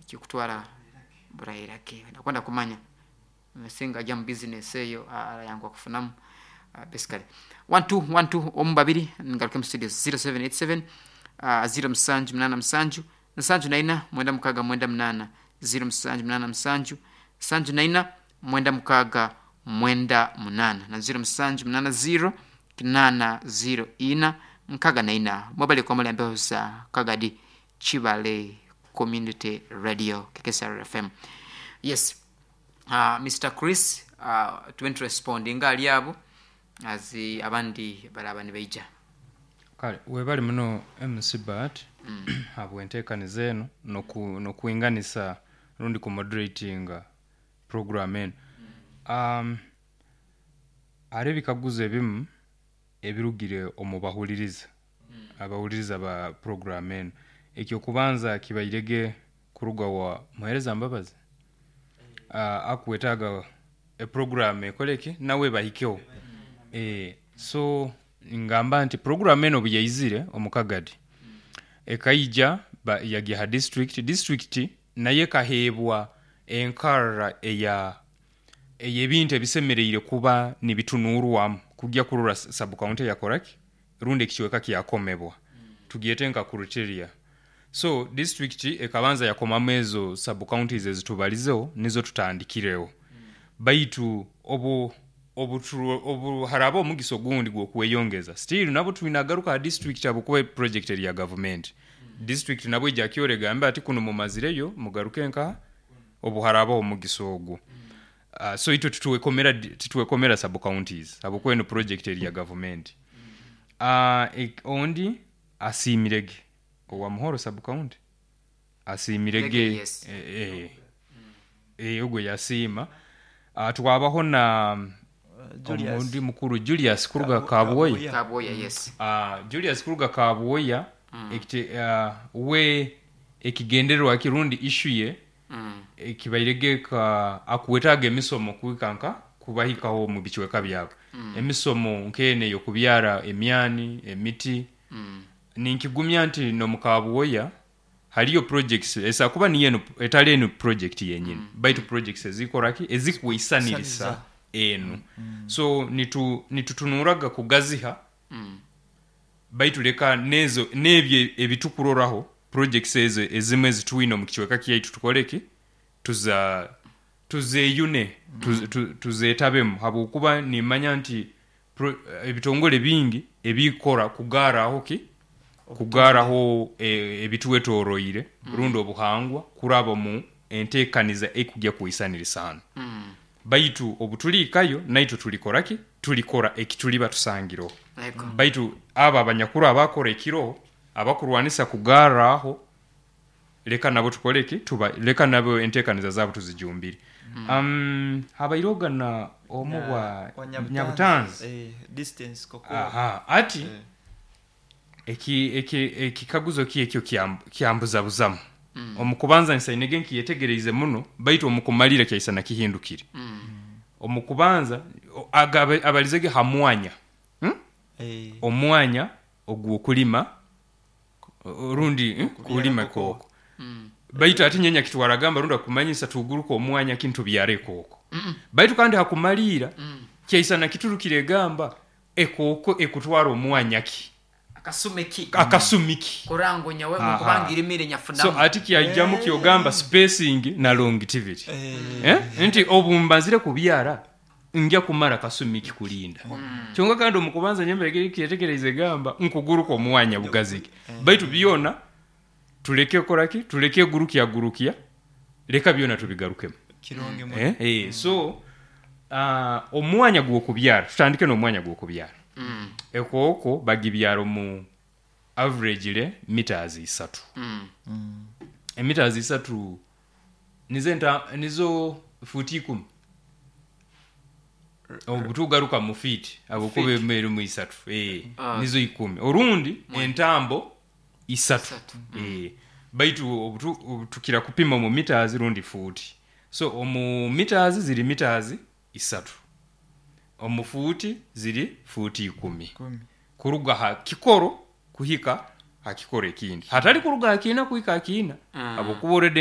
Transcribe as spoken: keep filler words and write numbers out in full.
Kikutwara burairake nakwenda kumanya singa ajya mu business eyo arayanguha kufunamu. uh, basically one two one two omu babiri, ngaruke mu studio zero seven eight seven uh, zero musanju munana musanju nsanju naina mwenda mukaga mwenda munana, zero musanju munana musanju nsanju naina mwenda mukaga mwenda munana, na zero musanju munana zero kinana zero ina nkaga naina. Mwebale kwa muli ambeho za Kagadi Chibale Community Radio K K S R F M. Yes, uh, Mister Chris, uh, tuwent responding ali abo azi abandi baraba nibaija. Kale webali muno M C Bat habwenteekaniza eno noku- nokwinganisa rundi ku moderatinga program eno. um, hariho ebikaguzo ebimu ebirugire omu bahuliriza, abahuliriza ba program eno. Ekyokubanza kibairege kuruga wa muhereza Mbabazi, uh, akwetaaga eprogram ekoleki nawe bahikeho. e, so ngamba nti program eno obu yaizire omu Kagadi, ekaija ba- yagya ha district district naye ekaheebwa enkarra eya ey'ebintu ebisemereire kuba nibitunuurwamu kujya kurora sub county yakoraki rundi ekicweka kyakomebwa, tugyete nka criteria. So district ekabanza yakomamu ezo sub counties ezitubalizeho, nizo tutandikireho. Baitu obu obu obu haraba omugisa ogundi gw'okweyongeza, still nabo twinagaruka ha district, habwokuba project eri ya government. District nabo ijja kyora egambe ati kuno mumazireyo, mugaruke nka obu harabaho omugisa ogwo. uh, so itwe titwekomera titwekomera sub counties habwokuba eno project eri ya government. uh, ek- ondi asiimirege owa Muhoro sub county asiimirege. Rege, yes. eh, eh, eh, ogwo yasiima. uh, twabaho na Julius. omundi mukuru Julius kuruga Kabu- Kabwoya. Kabuya. Kabwoya, yes. uh, Julius kuruga Kabwoya, ekite uh, we ekigendererwa kirundi issue ye mm. ekibairege ka akuwetaaga emisomo kuikanka kubahikaho mu bicweka byabo, emisomo nkene yokubyara emyani, emiti. Mm. Ninkigumya nti nomu Kabwoya haliyo projects esa kuba niyo eno etali eno project yenyini, mm. baitu projects ezikoraki ezikwisanirisa Saniriza. enu. So nitu nitutunuraga kugaziha, Mm. baitu leka nezo nebyo ebitukuroraho projects ezo ezimu ezitwine omu kicweka kyaitu tukoleki, tuza tuzeyune, tuz- tu- tuzetabemu, habwokuba nimanya nti pro- ebitongole bingi ebikora kugaraho ki kugaraho e, ebitwetoroire rundi obuhangwa kuraba mu enteekaniza ekujya kwisanirisaano. Mm. Baitu obutuliikayo naitwe tulikoraki, tulikora ekituliba tusangireho. Ego. Baitu abo abanyakuru abakora ekiro abakurwanisa kugarraho, leka nabo tukoleki, tuba leka nabo enteekaniza zaabo tuzijumbire. um, habairoga na omu Na- bwa wa Nyabutanzi. Nyabutanzi. Eh, distance koko. Aha, ati Eh. eki eki ekikaguzo ki ekyo kyam- kyambuzabuzamu. Omu kubanza nsainege nkiyetegereize muno, baitu omu kumalira kyaisana kihindukire. Mm. Omu kubanza o- agabe- abalizege ha mwanya, hmm? Eh, Omwanya ogw'okulima o- rundi eh, kulima kooko. kooko. Mm. Baitu ati nyenya kitwaragamba rundi akumanyisa tuguruka omwanya kintu byare kooko, baitu kandi hakumaliira kyaisana kiturukire egamba ekooko ekutwara omwanya ki, akasumiki, akasumiki. Kurango nyawe Aha. mukubanga irimire So nyafunamu. ati kyajjamu kyogamba spacing na longevity. eh, Eh? Nti obu mbazire kubyara nja kumara kasumiki kulinda kyonka. Kandi omukubanza nyembere kyetegereze gamba nkuguruka omwanya bugazike, baitu byona tuleke koraki, tuleke gurukya gurukya, leka byona tubigarukemu. Kirungi muno. Eh? Eh, so uh, omwanya gw'okubyara, tutandike n'omwanya gw'okubyara. Mm. Ekooko bagibyara mu average meters isatu. Mm. Emeters isatu nizo enta nizo futi ikumi obutugaruka mu feet, abukuba emeri mu isatu, eh, Ah. nizo ikumi orundi entambo isatu. Isatu. Eh, baitu obutu- obutukira kupima mu meters rundi futi. So omu meters ziri meters isatu, omu futi ziri futi ikumi. Kumi. Kuruga ha kikoro kuhika ha kikoro ekindi, hatali kuruga ha kiina kuhika ha kiina, Mm. habwokuba already.